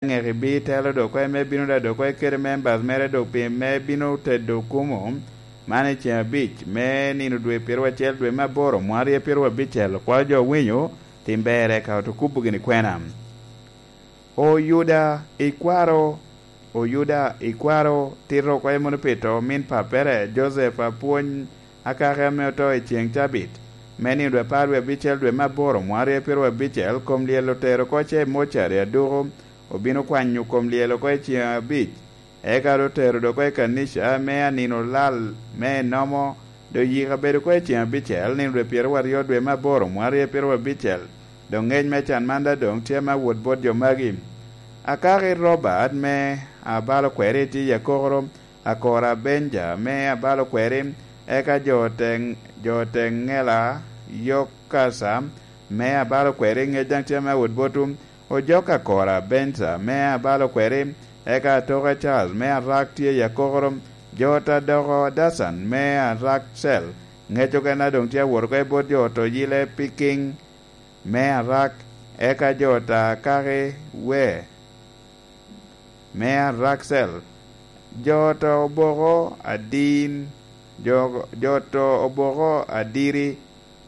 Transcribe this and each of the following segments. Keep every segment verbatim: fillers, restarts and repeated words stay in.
Aŋek ibitelo dok oko me bino da dok oko kede members mere dok pi me bino tedo okumo man i ceŋ abic me nino dwe pyeraryo acel dwe me aboro mwaka aryo pyeraryo abicel. Okwao jo owinyo, tim ber eka oto kubo gini kwena. Oyuda ikwaro, Oyuda ikwaro tito oko mono pi to min pappere, Joseph Apwony Akaki ame oto i ceŋ cabit me nino dwe apar wie abicel dwe me aboro mwaka aryo pyeraryo abicel, kom lyel otero oko ce i mocari aduko, obino kwanyo kom lyel oko i ceŋ abic, eka otero dok oko i kanica me anino lal me enomo, dok yika bedo oko i ceŋ abicel nino dwe pyeraryo aryo dwe me aboro mwaka aryo pyeraryo abicel. Dok ŋec me can man daŋ doŋ tye me awot bot jo magi. Akaki Robert me abalo kweri tye i akokoro, Akora Benja me abalo kweri, eka jo te, jo te ŋela Yokasa me abalo kweri ŋec daŋ tye me awot botwu, Ojok Akora Benja me abalo kweri, eka Atoka Charles me arak tye i akokoro, jo ta doko Dacan me arak cel, ŋec okene doŋ tye awot oko i bot jo to yile Piking me arak, eka jo ta Akaki we me arak cel, jo to oboko adin, jo, jo to oboko adiri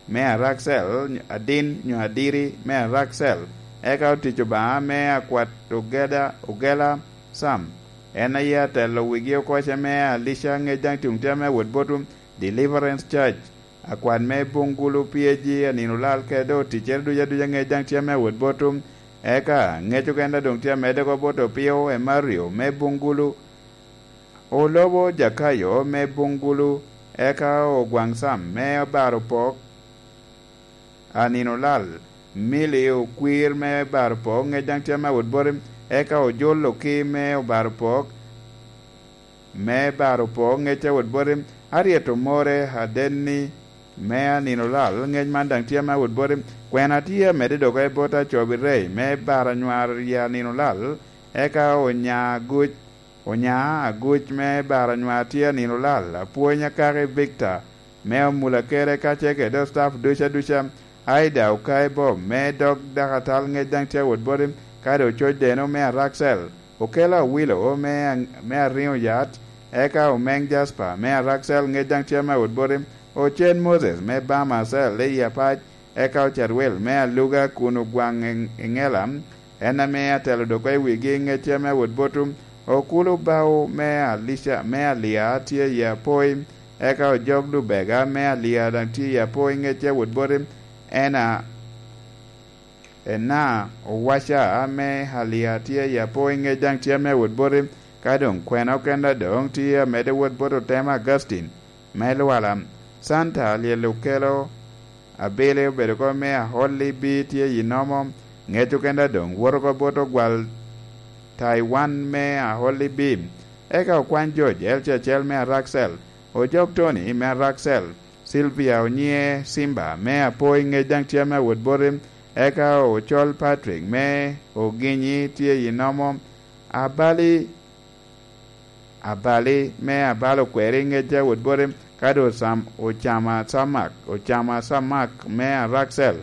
me arak cel, adin nyo adiri me arak cel, eka otic Obaŋa me akwat ogeda, ogela Sam, en aye atelo wigi oko ce me Alica ŋec daŋ tuŋ tye me wot botwu, Deliverance Church, akwat me Bungulu P A G anino lal kede oticcere ducu aduca ŋec daŋ tye me wot botwu, eka ŋec okene doŋ tye amedde oko bot Opio Emario me Bungulu, Olobo Jakayo me Bungulu, eka Ogwaŋ Sam me Obarupok anino lal, Mili Okwir me Barupok ŋec daŋ tye me wot boti, eka Ojol Oki me Obarupok me Barupok ŋec a wot boti, Aryet Omore Adenni me anino lal ŋec man daŋ tye me wot boti, kwena tye amedde dok i bot Acobi Rey me Baranywar i anino lal, eka Onya Aguc, Onya Aguc me Baranywar tye anino lal, Apwony Akaki Victor me Omulakere kacel kede staff ducu aduca, Aida Okayi Bob me dog dakatal ŋec daŋ tye awot boti, kadi Ococ Deno me Araksel, Okelo Awilo me, me Ariŋo Yat, eka Omeŋ Jasper me Araksel ŋec daŋ tye me awot boti, Ocen Moses me Bama Cell i Apac, eka Ocarwel me Aluga kun Ogwaŋ Eŋela, en ame atelo dok i wigi ŋecce me wot botwu, Okulu Bao me Alica, me Alia tye i Apoi, eka Ojok Lubega me Alia daŋ tye i Apoi ŋecce wot boti, ena, ena Owaca me Alia tye i Apoi ŋec daŋ tye me wot boti, ka doŋ kwena okene doŋ tye amedde wot bot Otema Augustine me Lwala, Santa Alyel Okelo, Abili obedo oko me Aholi B tye i Nomo, ŋec okene doŋ woto oko bot Ogwal Taiwan me Aholi B, eka Okwany George L C acel me Araksel, Ojok Tony me Araksel, Sylvia Onyiŋe Simba me Apoi ŋec daŋ tye me awot boti, eka Ocol Patrick me Oginyi tye i Nomo, Abali Abali me Abalo Kweri ŋec a wot boti, ka doŋ Sam-, Ocama Samak, Ocama Samak me Araksel,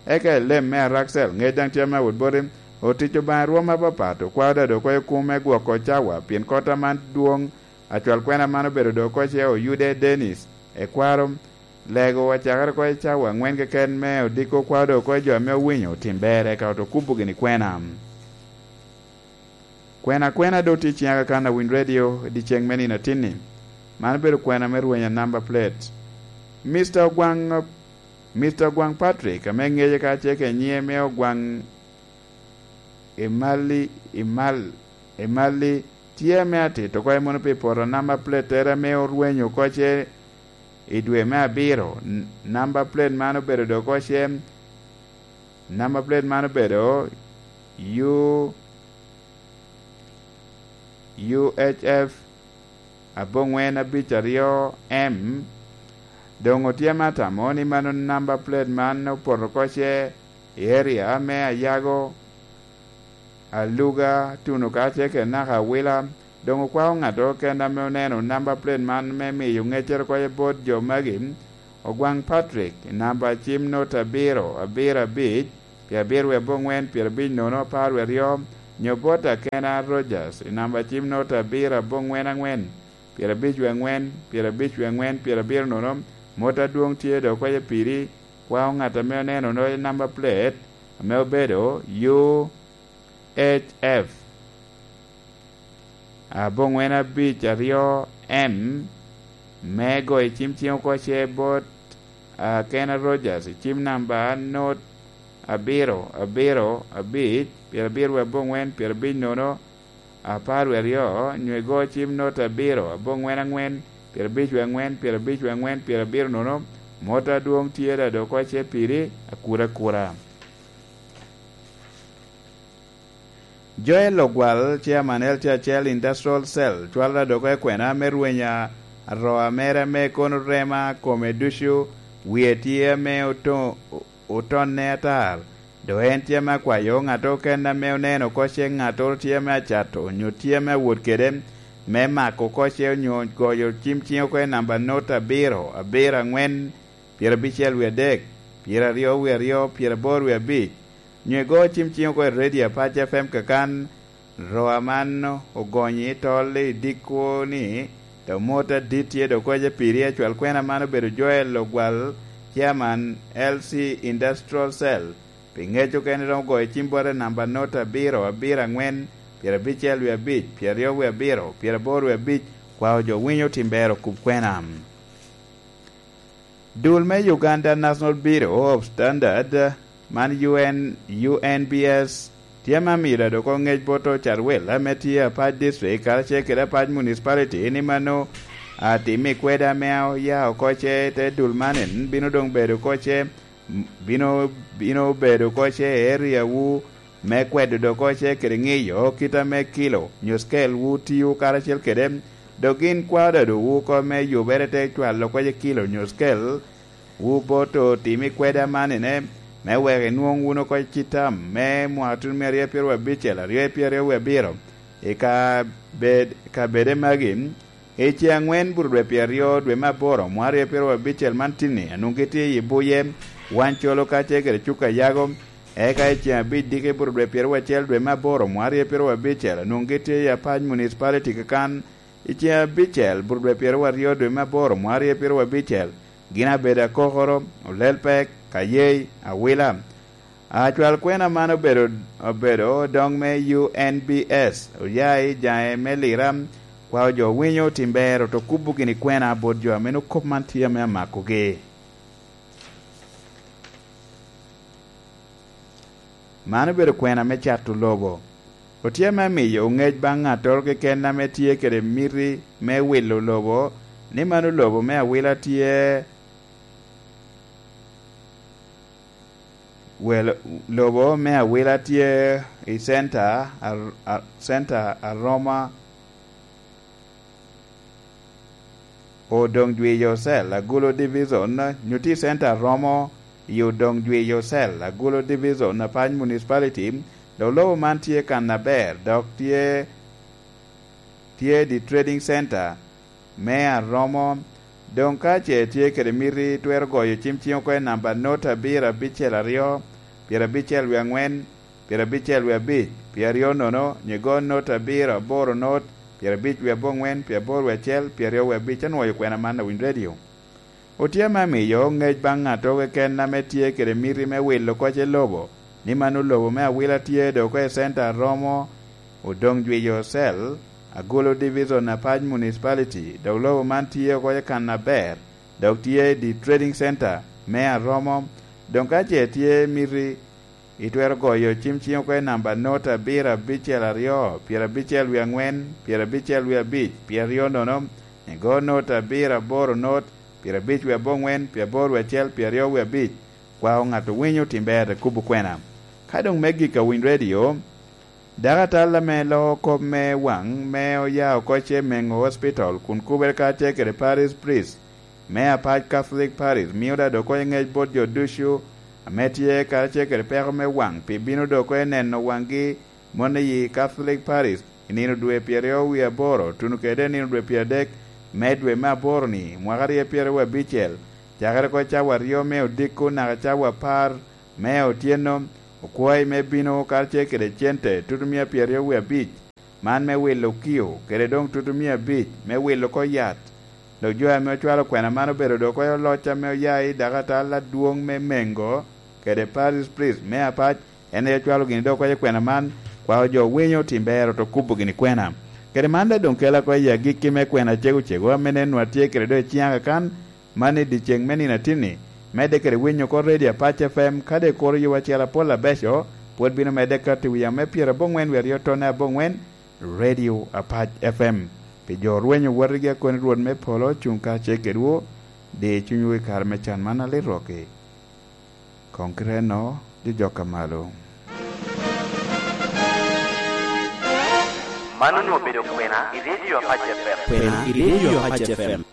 eka Elem me Araksel ŋec daŋ tye me wot boti, otic Obaŋa i rwom apapat, okwao da dok oko i kum me gwoko cawa, pien kota man dwoŋ, acwal kwena man obedo dok oko ce Oyude Dennis, ekwaro, lego acakere oko i cawa aŋwen keken me odiko okwao dok oko i jo ame owinyo otim ber, eka oto kubo gini kwena. Kwena kwena doŋ tye i ciŋa kakan a Winy Radio i dyeceŋ me nino atinni. Man obedo kwena me rwenya namba plate. Mister Ogwaŋ, Mister Ogwaŋ Patrick, ame ŋece ka ce ke nyiŋe me Ogwaŋ Emali, Emal-, Emali, tye ame atito oko mono pi poto namba plate tere ame orwenyo oko ce i dwe me abiro. N-, namba plate man obedo dok oko ce, namba plate man obedo U, U H F aboŋwen abic aryo M. Doŋ otye me atamo ni mano namba plate man opoto oko ce i area me Ayago, Aluga, tuno kacel kede naka Awila. Doŋ okwao ŋattoro kene ame oneno namba plate man me miyo ŋeccere oko bot jo magi, Ogwaŋ Patrick, namba cim not abiro, abiro abic, pi abiro wie aboŋwen, pyerabic nono, apar wie aryo, nyo bot Akena Rogers i namba cim nota abiro aboŋwen aŋwen, pyerabic wie aŋwen, pyerabic wie aŋwen, pyerabiro nono. Mot adwoŋ tye dok kwaye piri, kwao ŋat ame oneno nota namba plate ame obedo U H F aboŋwen abic aryo M, me goyo cim ciŋ oko ce bot Akena Rogers i cim namba not abiro abiro abic, pyerabiro wie aboŋwen, pyerabic nono, apar wie aryo, nyo igo cim not abiro aboŋwen aŋwen, pyerabic wie aŋwen, pyerabic wie aŋwen, pyerabiro nono. Mot adwoŋ tye dado oko ce piri, akura akura. Joel Ogwal, Chairman L T H L Industrial Cell, cwalo adoko i kwena me rweny a roa mere ame kono rema kome ducu, wie tye ame oto-, otonne atar. Dok en tye ame akwayo ŋat oken ame oneno oko ce ŋattoro tye ame acato, onyo tye ame awot kede, me mako oko ce onyo goyo cim ciŋ oko i namba not abiro, abiro aŋwen, pyerabicel wie adek, pyeraryo wie aryo, pyeraboro wie abic, nyo igo cim ciŋ oko i redio Apac F M kakan, roa man ogonyi i tol i dikko ni, dok mot adit tye dok koce piri. Acwal kwena man obedo Joel Ogwal, Chairman L C Industrial Cell. Pi ŋec okene romo goyo cim bote namba not abiro abiro aŋwen, pyerabicel wie abic, pyeraryo wie abiro, pyeraboro wie abic, kwao jo winyo tim ber okub kwena. Dul me Uganda National Bureau of Standard, man U N, U N B S, tye ame amiyo dado oko ŋec bot ocarwel ame tye Apac District karacel kede Apac Municipality ni mano atim i kweda ame oya oko ce te dul man en bino doŋ bedo oko ce, bino, bino bedo oko ce i area wu me kwedo dok oko ce kede ŋiyo kit ame kilo nyo scale wu tio karacel kede, dok gin kwao dado wu oko me yubere te cwalo oko ce kilo nyo scale wu bot otim i kweda man ene, me wek inwoŋ wun oko citam me mwaka tuno me aryo pyeraryo abicel, aryo pyeraryo wie abiro, i ka bed, ka bede magi, i ce aŋwen burudwe pyeraryo dwe me aboro mwaka aryo pyeraryo abicel man tinni, anwoŋ gitye i buye, wan colo kacel kede cuka yago, eka i ce abic diki burudwe pyeraryo acel dwe me aboro mwaka aryo pyeraryo abicel, anwoŋ gitye i Apac Municipality kakan, i ce abicel burudwe pyeraryo aryo dwe me aboro mwaka aryo pyeraryo abicel, gin abedo akokoro, olel pek, kayey, awila. Acwal kwena man obedo, obedo doŋ me U N B S, oya i jaŋe me Lira, kwao jo winyo tim ber, oto kubo gini kwena bot jo ame nwoŋo kop man tye ame amakogi. Man obedo kwena me cato lobo. Otye ame miyo ŋec baŋ ŋattoro keken ame tye kede miti me wilo lobo, ni mano lobo me awila tye, wel-, lobo me awila tye i center, ar-, ar-, center aroma Odoŋ Jwi Yocel, Agulu Division, nyo tye i center romo i Odoŋ Jwi Yocel, Agulu Division, Apac Municipality, dok lobo man tye kan aber, dok tye, tye the trading center me aromo. Doŋ ka ce tye kede miti, twero goyo cim ciŋ oko i namba not abiro abicel aryo, pyerabicel wie aŋwen, pyerabicel wie abic, pyeraryo nono, nyigo not abiro aboro not, pyerabic wie aboŋwen, pyeraboro wie acel, pyeraryo wie abic. Anwoyo kwena man awiny redio. Otye ame amiyo ŋec baŋ ŋattoro keken ame tye kede miti me wilo koc i lobo, ni mano lobo me awila tye dok oko i center aromo Odoŋ Jwi Yocel, Agulu Division, Apac Municipality, dok lobo man tye oko i kan aber, dok tye the trading center me aromo. Doŋ ka ce tye miti, itwero goyo cim ciŋ oko i namba not abiro abicel aryo, pyerabicel wie aŋwen, pyerabicel wie abic, pyeraryo nono, igo not abiro aboro not, pyerabic wie aboŋwen, pyeraboro wie acel, pyeraryo wie abic. Kwao ŋat owinyo tim ber te kubo kwena. Ka doŋ me gik awiny redio, dakatal ame loko kop me waŋ me oya oko ce Mengo Hospital kun kubere kacel kede Parish Priest me Apac Catholic Parish mio dado oko i ŋec bot jo ducu ame tye karacel kede peko me waŋ pi bino dok oko i neno waŋgi mon i Catholic Parish i nino dwe pyeraryo wie aboro tuno kede nino dwe pyeradek me dwe me aboro-ni, mwaka aryo pyeraryo abicel, cakere oko cawa aryo me odiko naka cawa apar me otyeno, Okwayi me bino karacel kede cente tutumia pyeraryo wie abic man me wilo okio, kede doŋ tutumia abic me wilo oko yat. Dok jo ame ocwalo kwena man obedo dok oko i oloc ame oya i dakatal adwoŋ me Mengo kede Parish Priest me Apac, en aye ocwalo gini dok oko i kwena man, kwao jo winyo tim ber oto kubo gini kwena. Kede man daŋ doŋ kela oko i agikki me kwena cego cego ame nen nwa tye kede do i ciŋa kakan, man i dyeceŋ me nino atinni, medde kede winyo oko Radio Apac F M, kadi ikuro yowa acel apol abeco, pwod bino medde kato i wi ame pyeraboŋwen wie aryo tonne aboŋwen, Radio Apac F M. Pi jo rwenyo wotigi a koni Rwot me polo cuŋ kacel kedwu, di cunywu i kare me can man alit rwok-ki. Koŋ kite enno, jojok a malo. Man onwoŋo obedo kwena i Radio Apac F M. Kwena i Radio Apac F M.